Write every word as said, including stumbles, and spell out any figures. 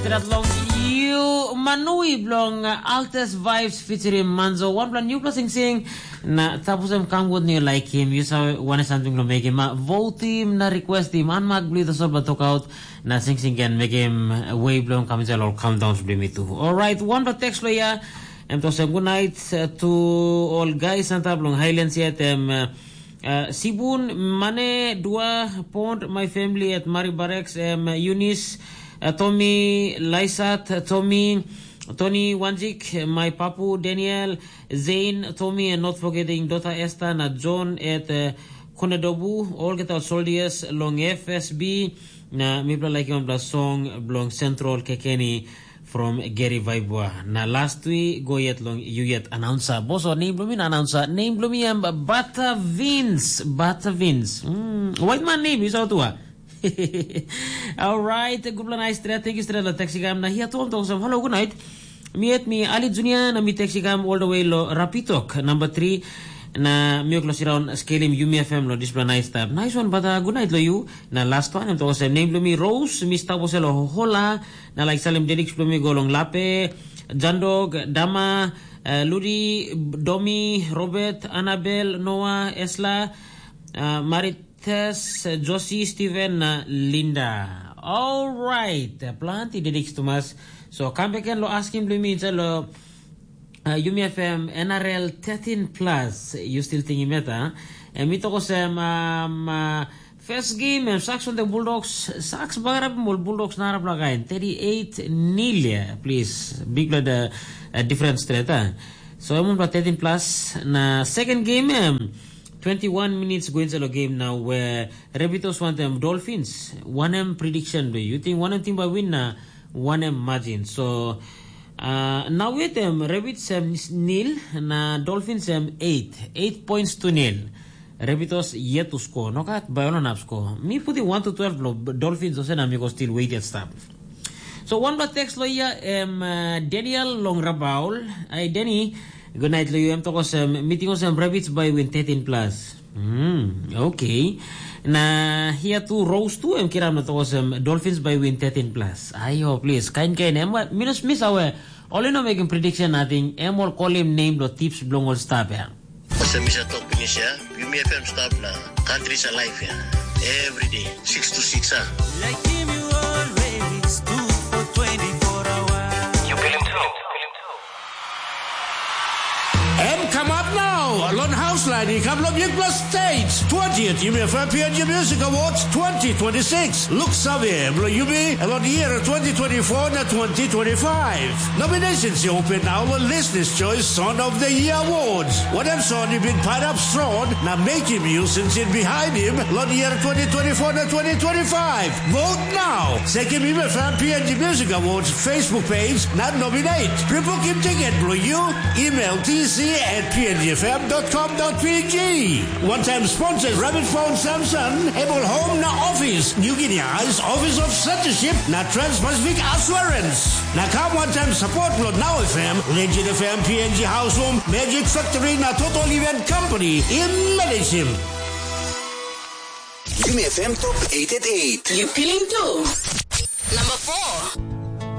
Stret long you manui bilong uh, Altes Vibes featuring Manzo. Wanpela newpela sing sing na tapusem kam gut ni laikim. You saw one something lo mekim. Uh, vote him na request him. Anmak bli the sol ba talk out na sing sing can make him uh, way bilong kam inside all countdowns bli me too. All right, one the text lo ya. Em to say good night uh, to all guys antap long Highlands yet. Em uh, Uh, Sibun, Mane, Dua, Pond, my family at Mari Barracks, um, Eunice, uh, Tommy, Laisat, uh, Tommy, Tony Wanjik, my papu, Daniel, Zain, Tommy, and not forgetting daughter Esther, na John at uh, Kunadobu, all get our soldiers, long F S B, na mipla like yon bla song, blong Central Kekeni, from Gary Vaibua. Na last week, go yet long you yet announcer. Boss or name blumi na announcer. Name blumi am Butter Vince. Butter Vince. Mm, white man name is out wa. Alright, good night straight. Thank you straight la taxi gam. Na here to talk some hello, good night. Mi at mi Ali Junior na mi taxi gam all the way lo Rapitok number three. Na mi oklo siraun skelim Yumi F M lo display nice stuff. Nice one, but uh, good night lo you. Na last one, em toko sem name blumi Rose, mi stap osel lo hola. Na like salim dedicts blumi go long Lape, Jandog, Dama, uh, Ludi, Domi, Robert, Annabel, Noah, Esla, uh, Marites, uh, Josie, Steven, na Linda. All right, uh, planti dedicts tumas. So come back and lo asking blumi inside lo uh, Yumi F M N R L thirteen plus. You still thinking better? Huh? And mi toko sem um, uh, first game em Sharks on the Bulldogs. Sharks bagarapim ol Bulldogs narapela kain thirty-eight nil. Yeah, please, big blood uh, uh, difference straight. Huh? So em on thirteen plus. Na second game em twenty-one minutes go inside the game now where Rabbitohs want them Dolphins. One M prediction do you think one M team by win na one M margin. So uh, now with them Rabbits have nil na Dolphins have eight. Eight points to nil. Rabbitohs yet to score. No kat by all up score. Me put the one to twelve lo Dolphins also na me go still wait at stop. So one black text lo here um, uh, Daniel long Rabaul. Hi Danny. Good night lo you. Em tokos um, meeting os um, Rabbits by win thirteen plus. Mm, okay. Na here too Rose too em kiram na tokos um, Dolphins by win thirteen plus. Ayo, please. Kain kain em minus miss awe. All you know making prediction nothing. Em all call him name lo tips belong all stop ya. Ose misa top finish ya. Yumi F M stop na countries alive ya. Every day, six to six ah. Like him you always do for twenty-four hours. You feel him too. Em kamap nau long haus lain i kam long bikpela stage. Twentieth Yumi F M P N G Music Awards twenty twenty-six. Look save, bilong yumi, long year twenty twenty-four na twenty twenty-five. Nominations i open now long Listeners' Choice Song of the Year Awards. Wanem song i bin pairap strong na mekim yu sinsin behind him long year twenty twenty-four na twenty twenty-five. Vote now. Sekim Yumi F M P N G Music Awards Facebook page na nominate. Pre-booking ticket bilong you, email T C at P N G F M dot com dot P G. One time sponsors Rabbit Phone Samson, Able Home na Office, New Guinea Eyes, Office of Censorship na Trans-Pacific Assurance. Na kam one time support lo Now F M, Legend F M, P N G House Home, Magic Factory na Total Event Company. Im manage him. Yumi F M Top eight eight eight. You feeling too? Number four.